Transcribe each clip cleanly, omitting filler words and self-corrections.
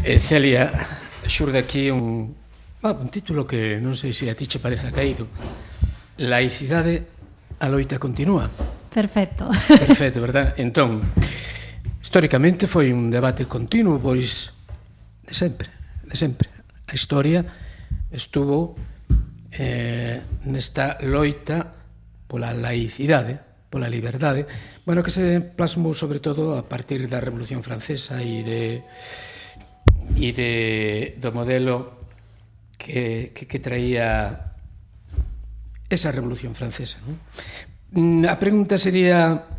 Celia, xurde aquí un título que non sei se a ti che parece caído. Laicidade, a loita continúa. Perfecto. Perfecto, verdad? Entón, históricamente foi un debate continuo, pois, de sempre. A historia estuvo nesta loita pola laicidade, pola liberdade, bueno, que se plasmou sobre todo a partir da Revolución Francesa e do modelo que traía esa Revolución Francesa, non? A pregunta sería,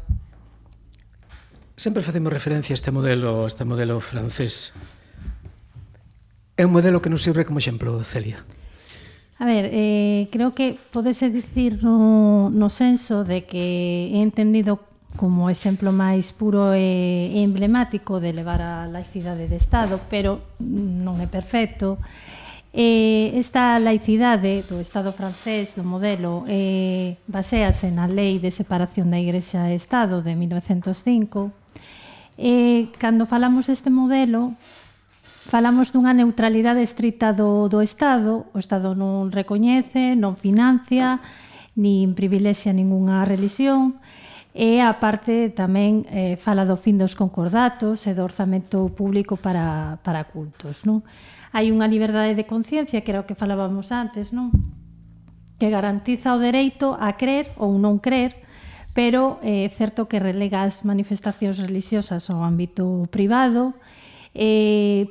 sempre facemos referencia a este modelo francés. É un modelo que nos sirve como exemplo, Celia? A ver, creo que podese dicir no senso de que he entendido como exemplo máis puro e emblemático de levar a laicidade de Estado, pero non é perfecto. Esta laicidade do Estado francés, do modelo, baséase na Lei de Separación da Igrexa e Estado de 1905. Cando falamos deste modelo, falamos dunha neutralidade estricta do Estado. O Estado non recoñece, non financia, nin privilexia ningunha religión. E, a parte, tamén fala do fin dos concordatos e do orzamento público para cultos, non? Hai unha liberdade de conciencia, que era o que falábamos antes, non? Que garantiza o dereito a crer ou non crer, pero é certo que relega as manifestacións religiosas ao ámbito privado,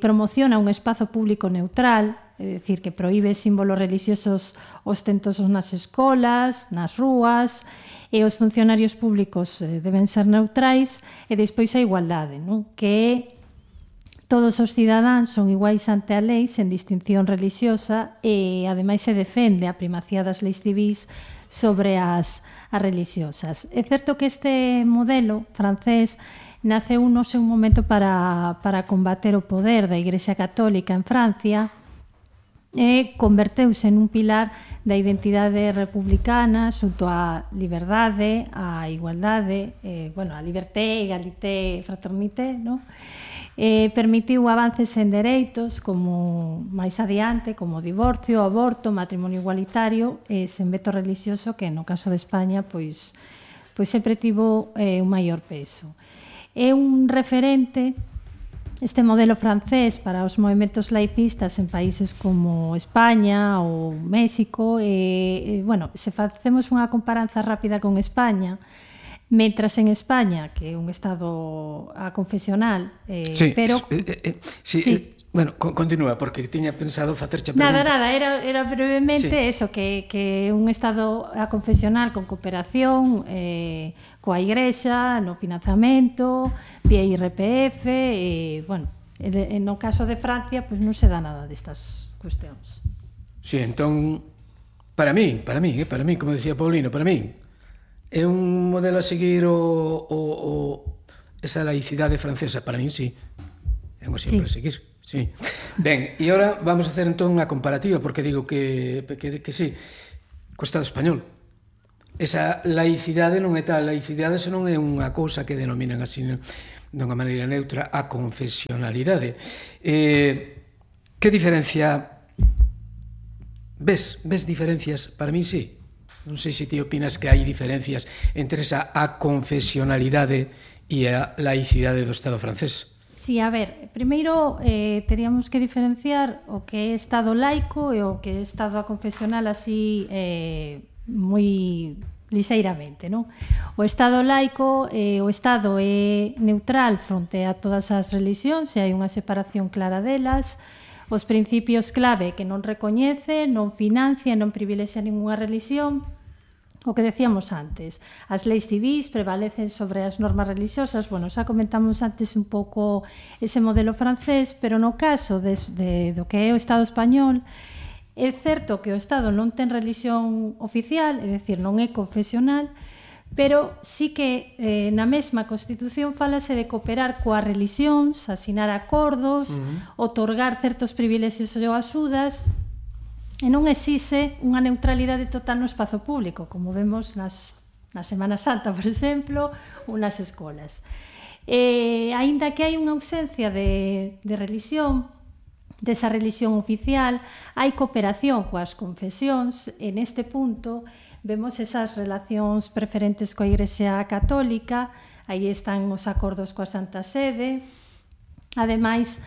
promociona un espazo público neutral, é dicir, que proíbe símbolos religiosos ostentosos nas escolas, nas rúas, e os funcionarios públicos deben ser neutrais, e despois a igualdade, non? Que é todos os cidadáns son iguais ante a lei sen distinción religiosa, e ademais se defende a primacía das leis civís sobre as religiosas. É certo que este modelo francés naceu no seu momento para combater o poder da Igrexa Católica en Francia e converteuse nun pilar da identidade republicana xunto á liberdade, á igualdade, a liberté, egalité, fraternité, non? Permitiu avances en dereitos como máis adiante, como o divorcio, o aborto, o matrimonio igualitario, sen veto religioso, que no caso de España pois sempre tivo un maior peso. É un referente este modelo francés para os movementos laicistas en países como España ou México. Se facemos unha comparanza rápida con España, mentras en España, que é un estado aconfesional, pero... Sí. Bueno, continúa, porque tiña pensado facerche a pregunta. Nada, era brevemente eso, que é un estado aconfesional con cooperación coa Igrexa, no financiamento, vía IRPF, no caso de Francia, pois non se dá nada destas cuestións. Sí, entón, para mí, como decía Paulino, para mí, é un modelo a seguir esa laicidade francesa? Para mí, sí. É un exemplo a seguir. Sí. Ben, e agora vamos a hacer entón unha comparativa, porque digo que sí, co Estado español. Esa laicidade non é tal laicidade, senón é unha cousa que denominan así dunha maneira neutra a confesionalidade. Que diferencia? Ves diferencias? Para mí sí. Non sei se ti opinas que hai diferencias entre esa aconfesionalidade e a laicidade do Estado francés. Sí, a ver, primeiro teríamos que diferenciar o que é Estado laico e o que é Estado aconfesional así moi lixeiramente, non? O Estado laico, o Estado é neutral fronte a todas as religións e hai unha separación clara delas. Os principios clave que non recoñece, non financia, non privilexia ninguna religión. O que decíamos antes, as leis civís prevalecen sobre as normas religiosas. Bueno, xa comentamos antes un pouco ese modelo francés, pero no caso do que é o Estado español, é certo que o Estado non ten religión oficial, é dicir, non é confesional, pero sí que na mesma Constitución falase de cooperar coas religións, asinar acordos, otorgar certos privilexios ou axudas, e non exixe unha neutralidade total no espazo público, como vemos na Semana Santa, por exemplo, ou nas escolas. Aínda que hai unha ausencia de religión, desa religión oficial, hai cooperación coas confesións, e neste punto vemos esas relacións preferentes coa Igrexa Católica, aí están os acordos coa Santa Sede, ademais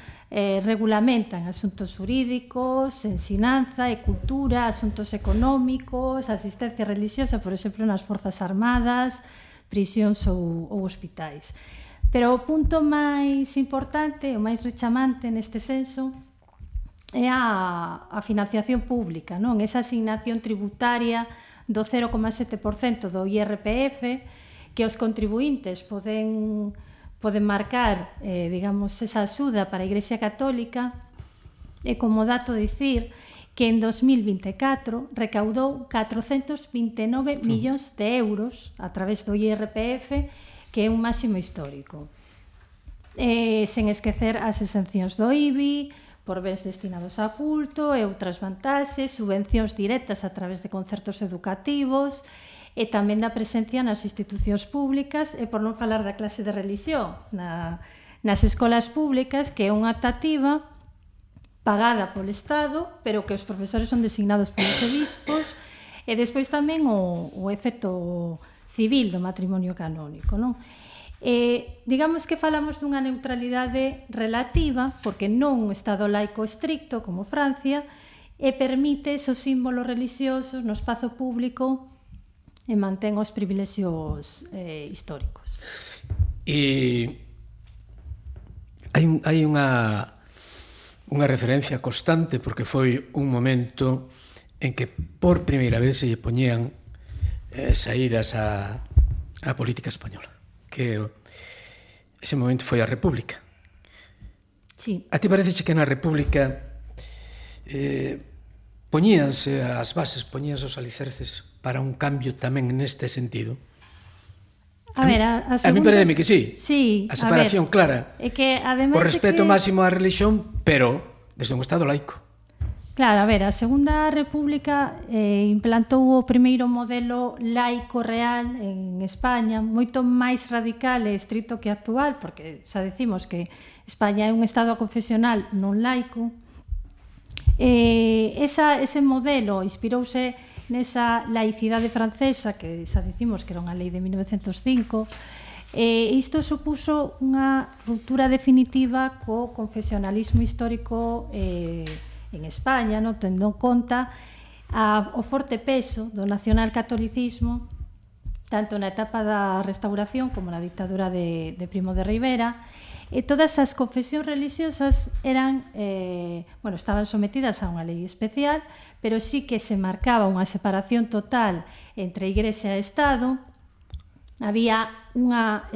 regulamentan asuntos jurídicos, ensinanza e cultura, asuntos económicos, asistencia religiosa, por exemplo, nas Forzas Armadas, prisións ou hospitais. Pero o punto máis importante, o máis rechamante neste senso, é a financiación pública, non? Esa asignación tributaria do 0,7% do IRPF que os contribuintes poden marcar, digamos, esa axuda para a Igrexa Católica, e como dato dicir que en 2024 recaudou 429 millóns de euros a través do IRPF, que é un máximo histórico. Sen esquecer as exencións do IBI, por bens destinados a culto e outras vantaxes, subvencións directas a través de concertos educativos, e tamén da presencia nas institucións públicas, e por non falar da clase de religión nas escolas públicas, que é unha optativa pagada polo Estado, pero que os profesores son designados polos obispos, e despois tamén o efecto civil do matrimonio canónico, non? Digamos que falamos dunha neutralidade relativa, porque non un Estado laico estricto como Francia, e permite esos símbolos religiosos no espazo público e mantén os privilexios históricos. E hai unha referencia constante, porque foi un momento en que por primeira vez se lle poñían saídas á política española, que ese momento foi a República. Sí. A ti parece que na República poñíanse as bases, poñíanse os alicerces para un cambio tamén neste sentido? A ver, a segunda... A mí pareceme que sí. Sí, a separación clara. É que, ademais, o respeto máximo á religión, pero desde un Estado laico. Claro, a ver, a Segunda República implantou o primeiro modelo laico real en España, moito máis radical e estricto que actual, porque xa decimos que España é un Estado confesional non laico. Ese modelo inspirouse nesa laicidade francesa, que xa dicimos que era unha lei de 1905, e isto supuso unha ruptura definitiva co confesionalismo histórico en España, no? Tendo en conta o forte peso do nacionalcatolicismo tanto na etapa da Restauración como na dictadura de Primo de Rivera, e todas as confesións religiosas eran, estaban sometidas a unha lei especial, pero sí que se marcaba unha separación total entre Igrexa e Estado. Había unha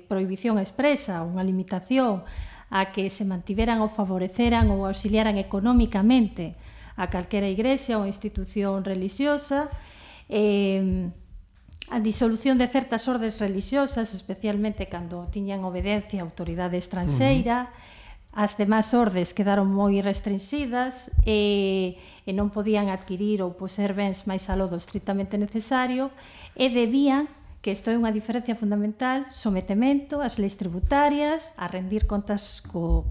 prohibición expresa, unha limitación a que se mantiveran ou favoreceran ou auxiliaran económicamente a calquera igrexa ou institución religiosa, a disolución de certas ordes religiosas, especialmente cando tiñan obediencia a autoridade estranxeira. As demás ordes quedaron moi restringidas e non podían adquirir ou poseer bens máis aló do estritamente necesario, e debían, que isto é unha diferencia fundamental, sometemento ás leis tributarias, a rendir contas co